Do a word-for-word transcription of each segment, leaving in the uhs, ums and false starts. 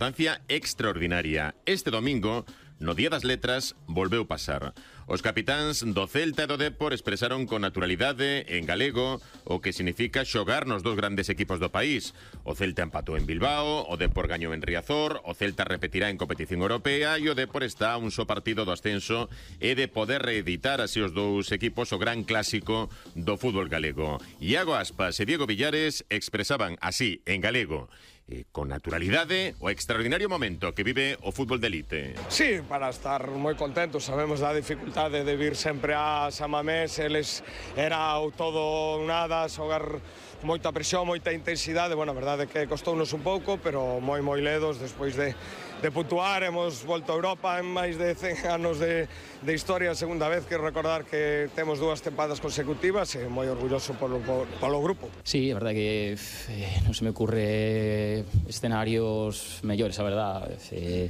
Circunstancia extraordinaria. Este domingo, no Día das Letras, volveu pasar. Os capitáns do Celta e do Depor expresaron con naturalidade en galego o que significa xogar nos dos grandes equipos do país. O Celta empatou en Bilbao, o Depor gañou en Riazor, o Celta repetirá en competición europea e o Depor está a un só partido do ascenso e de poder reeditar así os dous equipos o gran clásico do fútbol galego. Iago Aspas e Diego Villares expresaban así, en galego, Eh, con naturalidade o extraordinario momento que vive o fútbol de elite. Sí, para estar moi contentos. Sabemos da dificultade de vir sempre a San Mamés. Eles era o todo nada, xogar moita presión, moita intensidade. Bueno, a verdade é que costounos un pouco, pero moi moi ledos despois de, de puntuar. Hemos volto a Europa en máis de cen anos de, de historia, a segunda vez que recordar que temos dúas tempadas consecutivas e moi orgulloso polo, polo grupo. Sí, a verdade que eh, non se me ocurre escenarios mellores, a verdade. Eh,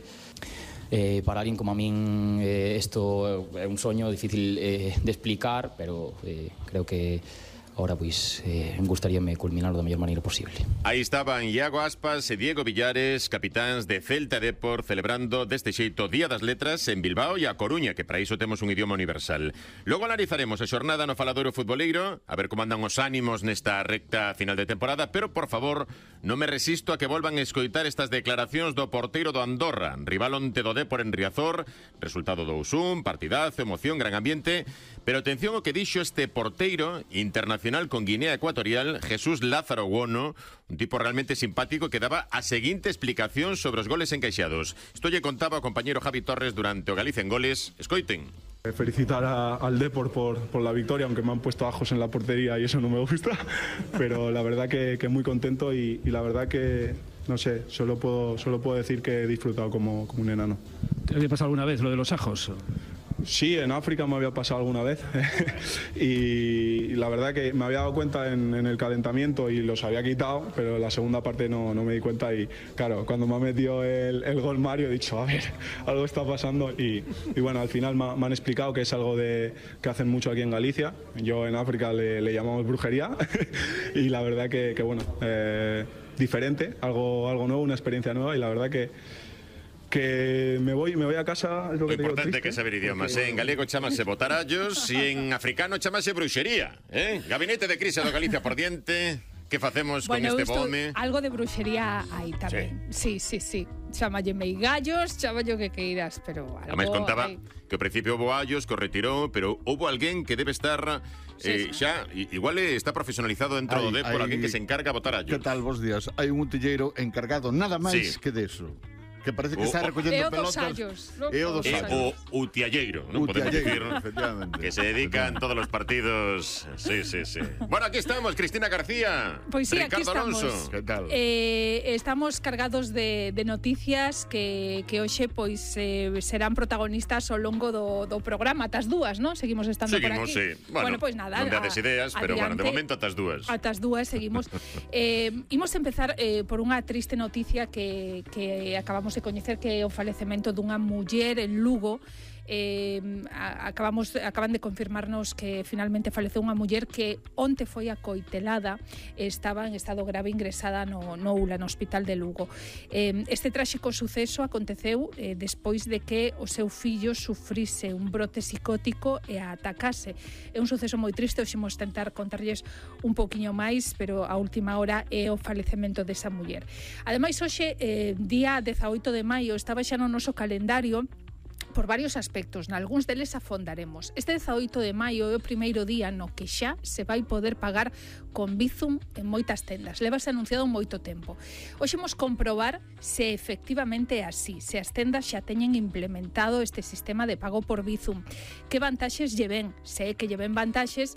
eh, para alguén como a min eh, isto é un soño difícil eh, de explicar, pero eh, creo que ahora, pois, eh, gustaríame culminar da mellor maneira posible. Aí estaban Iago Aspas e Diego Villares, capitáns de Celta e Depor, celebrando deste xeito Día das Letras en Bilbao e a Coruña, que para iso temos un idioma universal. Logo analizaremos a xornada no faladoiro futboleiro, a ver como andan os ánimos nesta recta final de temporada, pero, por favor, non me resisto a que volvan a escoitar estas declaracións do porteiro do Andorra, rival onte do Depor en Riazor, resultado dous un, partidazo, emoción, gran ambiente, pero atención o que dixo este porteiro internacional con Guinea Ecuatorial, Jesús Lázaro Guono, un tipo realmente simpático que daba a seguinte explicación sobre os goles encaixados. Isto lle contaba o compañero Javi Torres durante o Galicia en Goles. Escoiten. Felicitar a, al Depor por, por la victoria, aunque me han puesto ajos en la portería y eso no me gusta, pero la verdad que, que muy contento y, y la verdad que, no sé, solo puedo, solo puedo decir que he disfrutado como, como un enano. ¿Te había pasado alguna vez lo de los ajos? Sí, en África me había pasado alguna vez y la verdad que me había dado cuenta en, en el calentamiento y los había quitado, pero en la segunda parte no, no me di cuenta y claro, cuando me ha metido el, el gol Mario he dicho, a ver, algo está pasando y, y bueno, al final me, me han explicado que es algo de, que hacen mucho aquí en Galicia, yo en África le, le llamamos brujería y la verdad que, que bueno, eh, diferente, algo, algo nuevo, una experiencia nueva y la verdad que que me voy me voy a casa, es lo que te digo, importante é que saber idiomas, eh? En galego chamase botarallos e en africano chamase bruxería, eh? Gabinete de crise do Galicia por diante. Que facemos bueno, con este bome? Algo de bruxería hai tamén. Sí, sí, sí. Chámalle meigallos, chámalle o que queiras, pero algo... Ademais contaba hay... que ao principio houve allos que o retirou, pero houve alguén que debe estar eh, sí, sí. xa, igual está profesionalizado dentro do Depor, alguén que se encarga a botar allos. Que tal, bos días? Hai un utilleiro encargado nada máis sí. que deso. Que parece que o, está recollendo pelotas. E o dos sallos. O utialleiro, non podemos dicir, que se dedican todos los partidos. Sí, sí, sí. Bueno, aquí estamos, Cristina García. Pois sí, Ricardo aquí estamos. Alonso. Que tal? Eh, estamos cargados de, de noticias que, que hoxe pois eh, serán protagonistas ao longo do, do programa. Atas dúas, non? Seguimos estando seguimos, por aquí. Sí. Bueno, bueno, pois nada. Non dades ideas, a, pero adiante, bueno, de momento atas dúas. Atas dúas seguimos. eh, imos empezar eh, por unha triste noticia que, que acabamos de coñecer, que é o falecemento dunha muller en Lugo. Eh, acabamos, acaban de confirmarnos que finalmente faleceu unha muller que onte foi acoitelada e estaba en estado grave ingresada no, no U L A, no Hospital de Lugo. Eh, este tráxico suceso aconteceu eh, despois de que o seu fillo sufrise un brote psicótico e a atacase. É un suceso moi triste, hoxe imos tentar contarlles un poquinho máis, pero a última hora é o falecemento desa muller. Ademais, hoxe, eh, día dezaoito de maio, estaba xa no noso calendario por varios aspectos, nalgúns deles afondaremos. Este dezaoito de maio é o primeiro día no que xa se vai poder pagar con Bizum en moitas tendas. Levase anunciado moito tempo. Hoxe imos comprobar se efectivamente é así, se as tendas xa teñen implementado este sistema de pago por Bizum. Que vantaxes lle ven? Se é que lle ven vantaxes,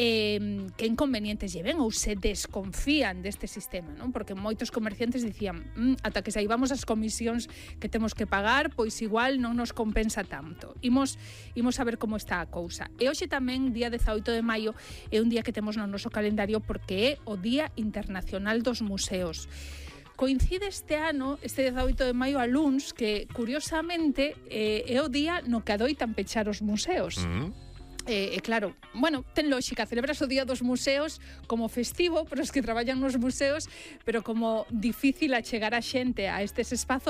eh, que inconvenientes lle ven ou se desconfían deste sistema, non? Porque moitos comerciantes dicían mmm, ata que saibamos as comisións que temos que pagar, pois igual non nos compensa tanto. Imos, imos a ver como está a cousa. E hoxe tamén, día dezaoito de maio, é un día que temos no noso calendario porque é o Día Internacional dos Museos. Coincide este ano, este dezaoito de maio, a luns, que curiosamente eh, é o día no que adoitan pechar os museos. Mm-hmm. E, eh, claro, bueno, ten lógica, celebras o Día dos Museos como festivo para os que traballan nos museos, pero como difícil achegar a xente a estes espazos,